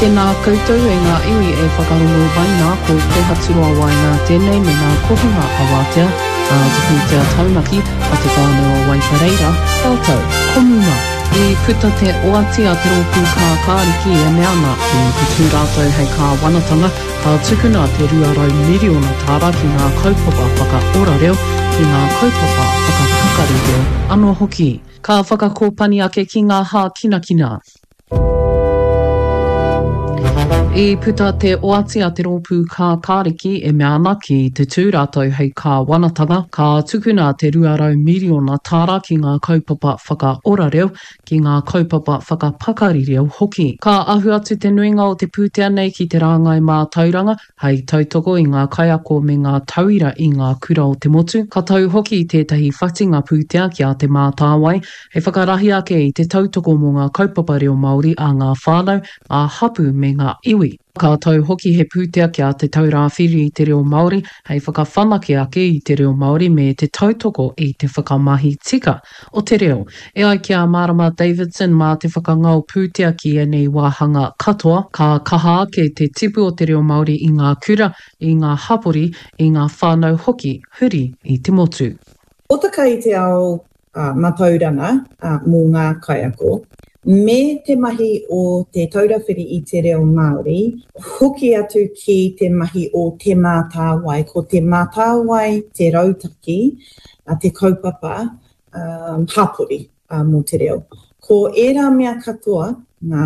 Tēnā koutou e ngā iwi e whakarongo mai nā, ko Kōhaturoa Waenga tēnei me ngā kohinga awatea a te pūtea taunaki a Te Whānau o Waipareira, rātou ko Muma. I puta te oati a te rōpū kākāriki e mea ana, ki te tū rātou hei kāwanatanga, ka tukuna te 200 miriona tāra ki ngā kaupapa whakaora reo, ki ngā kaupapa whakapakari reo anō hoki. Ka whakakōpani ake ki ngā hākinakina. I puta te oati a te rōpū kākāriki e mea ana ki te tū rātou hei kāwanatanga, ka tukuna te 200 miriona tāra ki ngā kaupapa whakaora reo, ki ngā kaupapa whakapakari reo hoki. Ka ahu atu te nuinga o te pūtea nei ki te rāngai mātauranga, hei tautoko i ngā kaiako me ngā tauira i ngā kura o te motu. Ka tau hoki tētahi whatinga pūtea ki a Te Mātāwai, hei whakarahi ake i te tautoko mō ngā kaupapa reo Māori a ngā whānau, ngā hapū me ngā iwi. Ka tau hoki he pūtea ki a Te Taura Whiri i te Reo Māori hei whakawhanake ake i te reo Māori me te tautoko i te whakamahi tika o te reo. E ai ki a Marama Davidson mā te whakangao pūtea ki ēnei wāhanga katoa, ka kaha ake te tipu o te reo Māori i ngā kura, i ngā hapori, i ngā whānau hoki huri i te motu. Hōtaka i te ao matauranga mō ngā kaiako, me te mahi o Te Taura Whiri i te Reo Māori, hoki atu ki te mahi o Te Mātāwai. Ko Te Mātāwai te rautaki, te kaupapa hapori mō te reo. Ko ērā mea katoa, ngā,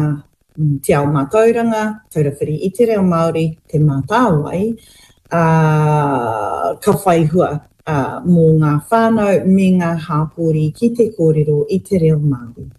te ao mātauranga, Taura Whiri i te Reo Māori, Te Mātāwai, ā, ka whai hua mō ngā whānau me ngā hapori ki te kōrero i te reo Māori.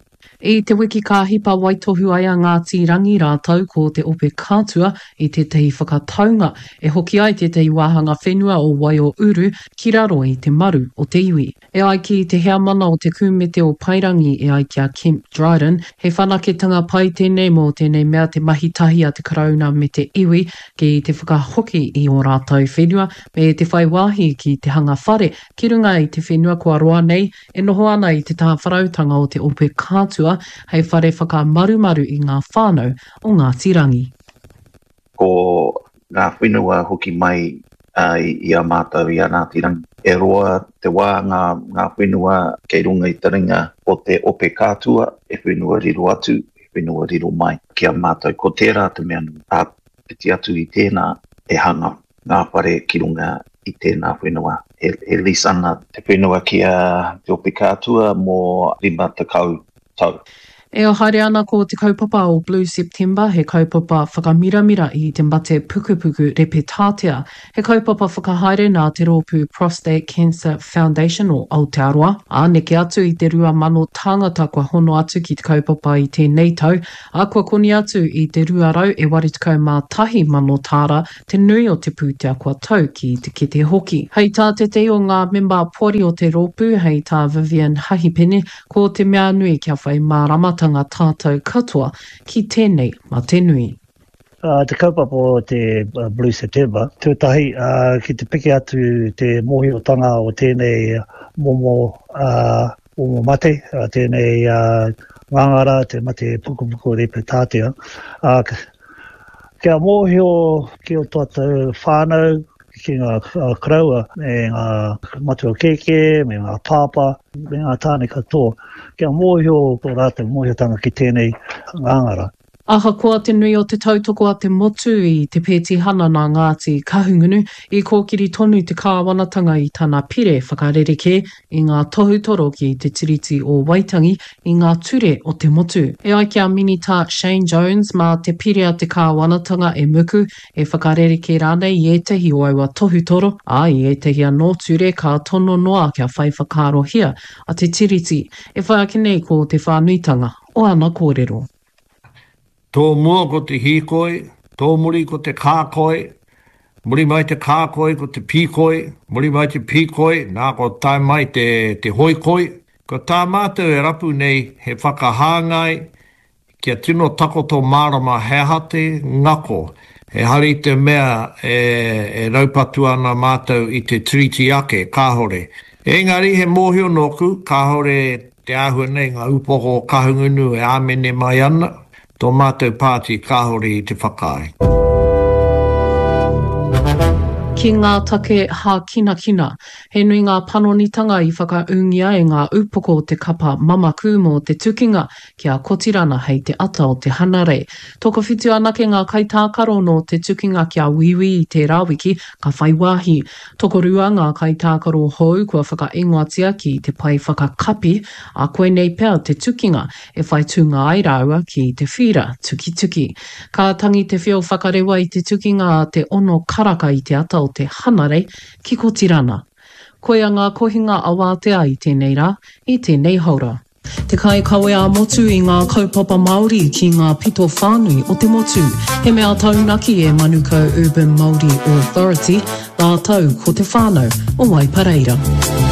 I te wiki ka hipa waitohu ai a Ngāti Rangi rātou ko Te Ope Kātua i tētahi whakataunga e hoki ai tētahi wāhanga whenua o Waiōuru ki raro i te maru o te iwi. E ai ki te heamana o te Kūmete o Paerangi e ai ki a Kemp Dryden, he whanaketanga pai tēnei mō tēnei mea te mahi tahi a te Karauna me te iwi ki te whakahoki i ō rātou whenua me te whai wāhi ki te hanga whare ki runga i te whenua kua roa nei e noho ana i te tāwharautanga o te Ope Kātua hei whare whakamarumaru i ngā whānau o Ngāti Rangi. Ko ngā whenua hoki mai i a mātou i a Ngāti Rangi. E roa te wā ngā, ngā whenua kei runga i te ringa o te Ope Kātua, he whenua riro atu, he whenua riro mai ki a mātou. Ko tērā te mea nui. Āpiti atu i tēnā, e hanga ngā whare ki runga i tēnā whenua. E, e lease ana te whenua ki a Te Ope Kātua mō 50 tau. E haere ana ko te kaupapa o Blue September, he kaupapa whakamiramira i te mate pukupuku repetātea. He kaupapa whakahaere nā te rōpū Prostate Cancer Foundation o Aotearoa, ā, neke atu i te 2,000 tāngata kua hono atu ki te kaupapa i tēnei tau, ā, kua koni atu i te 281,000 tāra te nui o te pūtea kua tau ki te kete hoki. Hei tā tētehi o ngā mema poari o te rōpū, hei tā Vivian Hahipene, ko te mea nui kia whai māramatanga tātou katoa ki tēnei mate nui. Te kaupapa o te Blue September, tuatahi ki te piki atu te mōhiotanga o tēnei momo momo mate, tēnei ngāngara, te mate pukupuku repetātea. Kia mōhio ki o tātou whānau, ki ngā koroua me ngā matua kēkē, me ngā pāpā, me ngā tāne katoa, kia mōhio tō rātou mōhiotanga ki tēnei ngāngara. Ahakoa te nui o te tautoko a te motu i te pētihana nā Ngāti Kahungunu, i kōkiri tonu te kāwanatanga i tana pire whakarerekē i ngā tohutoro ki te Tiriti o Waitangi i ngā ture o te motu. E ai ki a Minita Shane Jones, mā te pire a te kāwanatanga e muku, e whakarerekē rānei i ētahi o aua tohutoro, ā, i ētahi anō ture ka tono noa kia whai whakaarohia a te Tiriti. E whai ake nei ko te whānuitanga o ana kōrero. Tō mua ko te hīkoi, tō muri ko te kākoi, muri mai te kākoi ko te pīkoi, muri mai te pīkoi, nā ko tae mai te, te hoikoi. Ko tā mātou e rapu nei he whakahāngai kia tino takoto mārama he aha te ngako, ehara i te mea e, e raupatu ana mātou i te Tiriti ake, kāore. Engari he mōhio nōku, kāore Te āhua nei ngā upoko o Kahungunu e āmene mai ana. Tō mātou pāti kāore i te whakaae. Ki ngā take hākinakina. He nui ngā panonitanga i whakaūngia e ngā upoko o te kapa mamaku mō te tukinga ki a Kotirana hei te ata o te Hanarei. Tokowhitu anake ngā kaitākaro nō te tukinga ki a Wīwī i tērā wiki ka whai wāhi. Tokorua ngā kaitākaro hou kua whakaingoatia ki te pae whakakapi, ā, koinei pea te tukinga e whai tūnga ai rāua ki te whīra tukituki. Ka tangi te whio whakarewa i te tukinga a te ono karaka i te ata o te Hanarei ki Kotirana. Koia ngā kohinga awātea i tēnei rā, i tēnei haora. Te kaikawe ā-motu i ngā kaupapa Māori ki ngā pito whānui o te motu. He mea taunaki e Manukau Urban Māori Authority rātou ko te whānau o Waipareira.